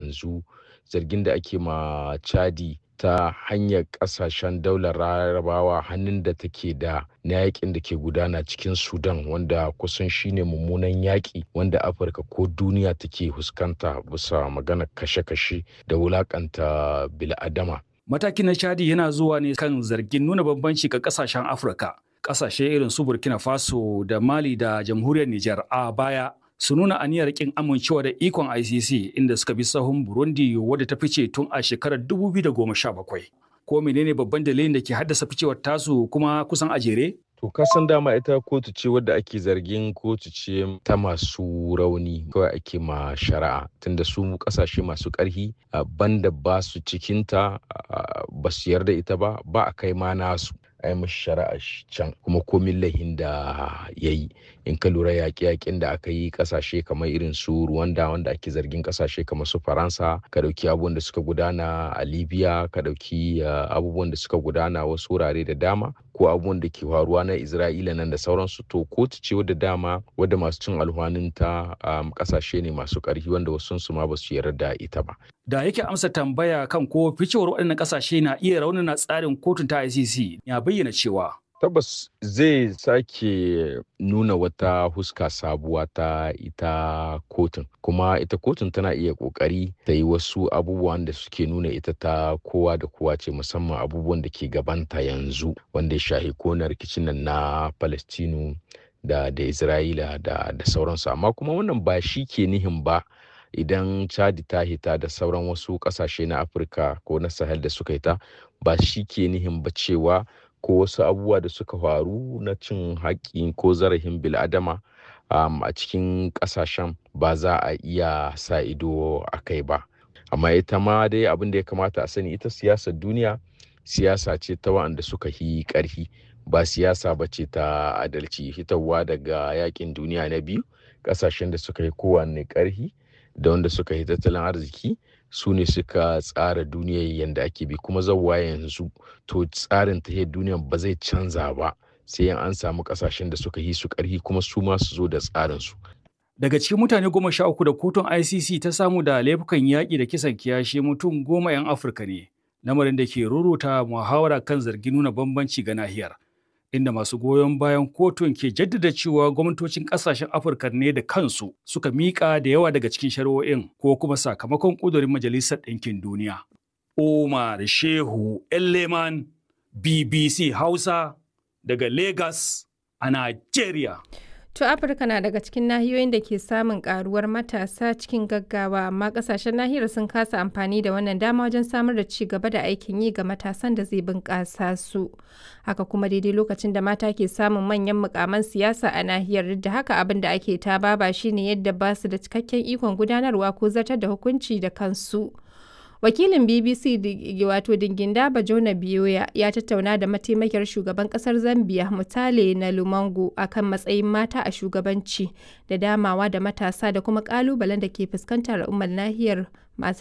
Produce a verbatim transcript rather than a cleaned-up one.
yanzu zargin da ake ma Chadi ta hanyar kasashen daular Larabawa, hannun da take da na yakin da ke gudana cikin Sudan, wanda kusan shine mummunan yaƙi wanda Afirka ko duniya take fuskanta bisa maganar kashe-kashe da wulakanta bil'adama. Matakin na Chadi yana zuwa ne kan zargin nuna bambanci ga kasashen Afirka. Kasashe irin su Burkina Faso da Mali da Jamhuriyar Nijar a baya su nuna aniyar kin amincewa da ikon I C C, inda suka bi sahun Burundi wadda ta fice tun a shekarar dubu biyu da goma sha bakwai. Ko menene babban dalilin da ke haddasa ficewar tasu kuma kusan a jere? To, ka san dama ita kotu ce wadda ake zargin kotu ce ta masu rauni kawai ake ma shari'a, tunda su kasashe masu ƙarfi banda ba su cikinta, ba su yarda ita ba, ba a kai ma nasu a yi mashi shari'a can, kuma komin laihin da ya yi. In ka lura, yaƙe-yaƙen da aka yi ƙasashe kamar irin su Rwanda, wanda ake zargin ƙasashe kamar su Faransa, ka ɗauki abubuwan da suka gudana a Libya, ka ɗauki abubuwan da suka gudana wasu wurare da dama, ko abubuwan da ke faruwa na Isra'ila nan da sauransu, to kotu ce wadda dama wadda masu cin alhwanin ta ƙasashe ne masu ƙarfi, wanda wasu su ma ba su yarda ita ba. Da yake amsa tambaya kan ko ficewar waɗannan ƙasashe na iya raunana tsarin kotun ta I C C, ya bayyana cewa Tabbas zai sake nuna wata huska sabuwa ta ita kotun, kuma ita kotun tana iya kokari ta yi wasu abubuwan da suke nuna ita ta kowa da kowa ce, musamman abubuwan da ke gabanta yanzu wanda ya shahi kona rikicin nan na Palestinu da da Isra'ila da da sauransu. Amma kuma wannan ba shi ke nihin ba idan Chadi ta hita da sauran wasu kasashe na Afirka ko na Sahel da suka hita, ba shi ke nihin ba cewa ko wasu abubuwa da suka faru na cin haƙƙi ko zarafin bil'adama um, a cikin ƙasashen ba za a iya sa ido a kai ba. Amma ita ma dai abin da ya kamata a sani, ita siyasar duniya siyasa ce ta waɗanda suka yi ƙarfi, ba siyasa ba ce ta adalci. Hitarwa daga yakin duniya na biyu, ƙasashen da suka yi kowanne ƙarfi da wanda suka yi tattalin arziki su ne suka tsara duniyar yadda ake bi, kuma zawwa yanzu to tsarin tahiyar duniyar ba zai canza ba sai an samu kasashen da suka yi su karhi kuma su ma su zo da tsarin su. Daga cikin mutane goma sha uku da kotun I C C ta samu da laifukan yaƙi da kisan kiyashi, mutum goma 'yan Afirka ne, lamarin da ke ruruta muhawara kan zargin nuna bambanci ga nahiyar, inda masu goyon bayan kotun ke jaddada cewa gwamnatocin kasashen Afirka ne da kansu suka miƙa da yawa daga cikin shari'o'in ko kuma sakamakon ƙudurin Majalisar Ɗinkin Duniya. Umar Shehu Elleman, B B C Hausa, daga Lagos a Nigeria. To, Afirka na daga cikin nahiyoyin da ke samun karuwar matasa cikin gaggawa, amma kasashen nahiyar sun kasa amfani da wannan dama wajen samar da ci gaba da aikin yi ga matasan da zai bunƙasa su. Haka kuma, daidai lokacin da mata ke samun manyan mukaman siyasa a nahiyar, duk da haka abin da ake ta baba shine yadda ba su da cikakken ikon gudanarwa ko zartar da hukunci da kansu. Wakilin B B C wato Dinginda Bajona Biyoya ya tattauna da mataimakiyar shugaban kasar Zambia, Mutale na Lumango, akan matsayin mata a shugabanci da damawa da matasa da kuma kalubalen da ke fuskantar al'ummar nahiyar masu